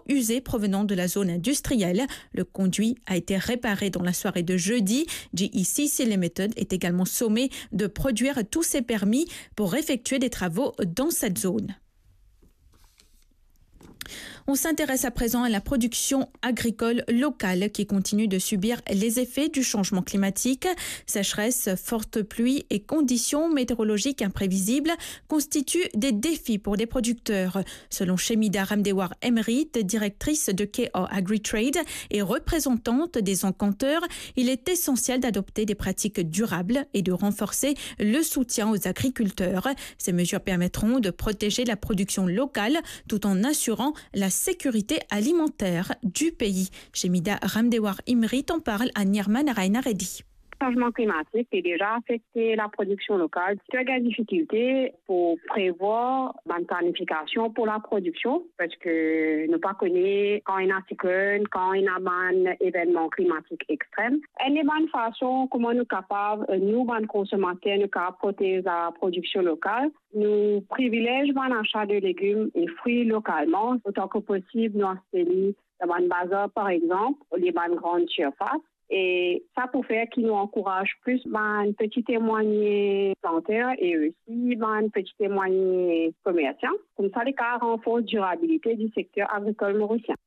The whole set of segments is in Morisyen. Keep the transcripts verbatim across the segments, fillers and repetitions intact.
usé provenant de la zone industrielle. Le conduit a été réparé dans la soirée de jeudi. G E C C Limited est également sommé de produire tous ses permis pour effectuer des travaux dans cette zone. On s'intéresse à présent à la production agricole locale qui continue de subir les effets du changement climatique. Sécheresse, fortes pluies et conditions météorologiques imprévisibles constituent des défis pour les producteurs. Selon Shemida Ramdewar Emrit, directrice de K R Agritrade et représentante des encanteurs, il est essentiel d'adopter des pratiques durables et de renforcer le soutien aux agriculteurs. Ces mesures permettront de protéger la production locale tout en assurant la sécurité alimentaire du pays. Shemida Ramdewar Emrit en parle à Nirman Raina Reddy. Changement climatique, c'est déjà affecté la production locale. Ti gagn difikilte pou prevwar bann planifikasion pou laprodiksion, parski nou pa kone kan ena siklonn, kan ena bann evennman klimatik extrem. Enn bann fason kouma nou kapav, nou bann konsomater, nou kapav protez laprodiksion lokal, nou privilez bann asa de legim e fri lokalman, otan ki posib, nou aste li dan bann bazar, par exanp, olie bann gran sirfas. E sa pou fer ki nou ankouraz plis bann peti e mwayene planter e osi bann peti e mwayene komersan. Koumsa, li kapav ranfors dirabilite di sekter agrikol morisien.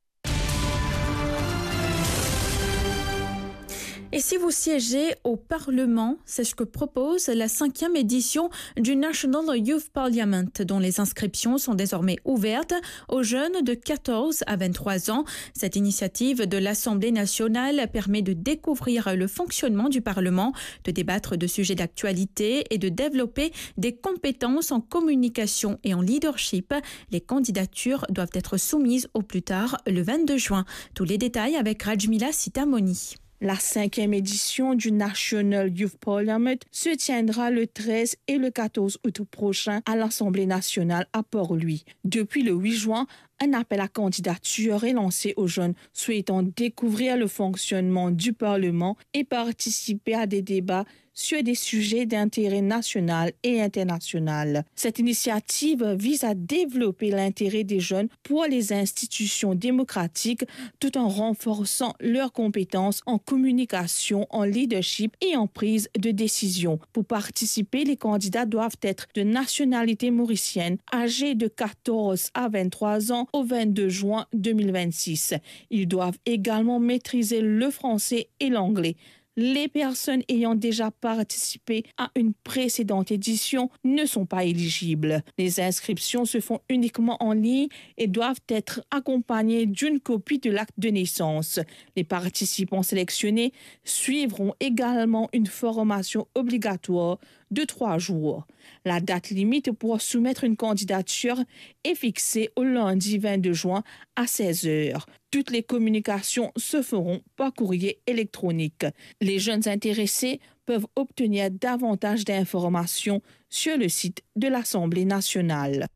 Et si vous siégez au Parlement, c'est ce que propose la cinquième édition du National Youth Parliament, dont les inscriptions sont désormais ouvertes aux jeunes de quatorze à vingt-trois ans. Cette initiative de l'Assemblée nationale permet de découvrir le fonctionnement du Parlement, de débattre de sujets d'actualité et de développer des compétences en communication et en leadership. Les candidatures doivent être soumises au plus tard le vingt-deux juin. Tous les détails avec Rajmila Sitamoni. La cinquième édition du National Youth Parliament se tiendra le treize et le quatorze août prochain à l'Assemblée nationale à Port-Louis. Depuis le huit juin, un appel à candidature est lancé aux jeunes souhaitant découvrir le fonctionnement du Parlement et participer à des débats sur des sujets d'intérêt national et international. Cette initiative vise à développer l'intérêt des jeunes pour les institutions démocratiques tout en renforçant leurs compétences en communication, en leadership et en prise de décision. Pour participer, les candidats doivent être de nationalité mauricienne, âgés de quatorze à vingt-trois ans au vingt-deux juin deux mille vingt-six. Ils doivent également maîtriser le français et l'anglais. Les personnes ayant déjà participé à une précédente édition ne sont pas éligibles. Les inscriptions se font uniquement en ligne et doivent être accompagnées d'une copie de l'acte de naissance. Les participants sélectionnés suivront également une formation obligatoire de trois jours. La date limite pour soumettre une candidature est fixée au lundi vingt-deux juin à seize heures. Toutes les communications se feront par courrier électronique. Les jeunes intéressés peuvent obtenir davantage d'informations sur le site de l'Assemblée nationale.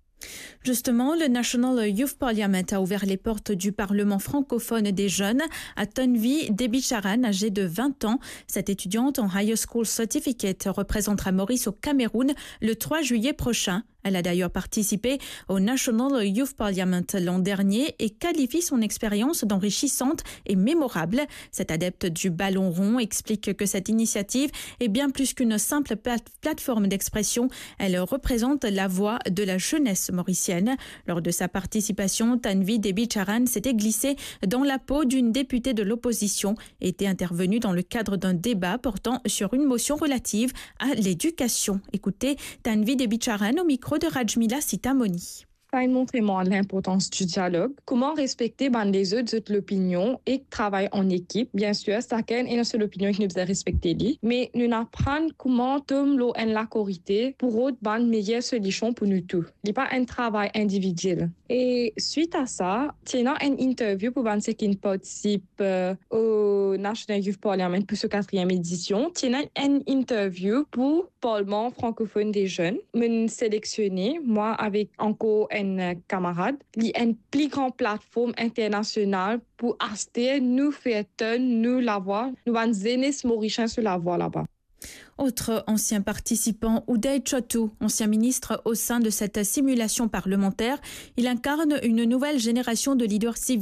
Justement, le National Youth Parliament a ouvert les portes du Parlement francophone des jeunes à Tanvi Debicharan, âgée de vingt ans. Cette étudiante en Higher School Certificate représentera Maurice au Cameroun le trois juillet prochain. Elle a d'ailleurs participé au National Youth Parliament l'an dernier et qualifie son expérience d'enrichissante et mémorable. Cette adepte du ballon rond explique que cette initiative est bien plus qu'une simple plate- plateforme d'expression. Elle représente la voix de la jeunesse mauricienne. Lors de sa participation, Tanvi Debicharan s'était glissée dans la peau d'une députée de l'opposition et était intervenue dans le cadre d'un débat portant sur une motion relative à l'éducation. Écoutez Tanvi Debicharan au micro de Rajmila Sitamoni. Sa inn montre mwa linportans di dialog, kouma respekte bann lezot zot lopinion ek travay an ekip. Bien sir, sakenn ena so lopinion ki nou bizin respekte li, me nou'nn aprann kouma tom lor enn lakor ide pou rod bann meyer solision pou nou tou. Li pa enn travay individiel. E swit a sa, ti ena enn interview pou bann seki inn partisip, eh, o National Youth Parliament pou so katriyem edision. Ti ena enn interview pou Parlement Francophone des Jeunes. Mo'nn selektione, mwa avek ankor enn, eh, kamarad. Li enn pli gran platform internasional pou aster nou fer tann nou lavwa, nou bann zenes Morisien so lavwa laba. Autre ancien participant, Uday Chotu, ancien ministre au sein de cette simulation parlementaire, il incarne une nouvelle génération de leaders civiques.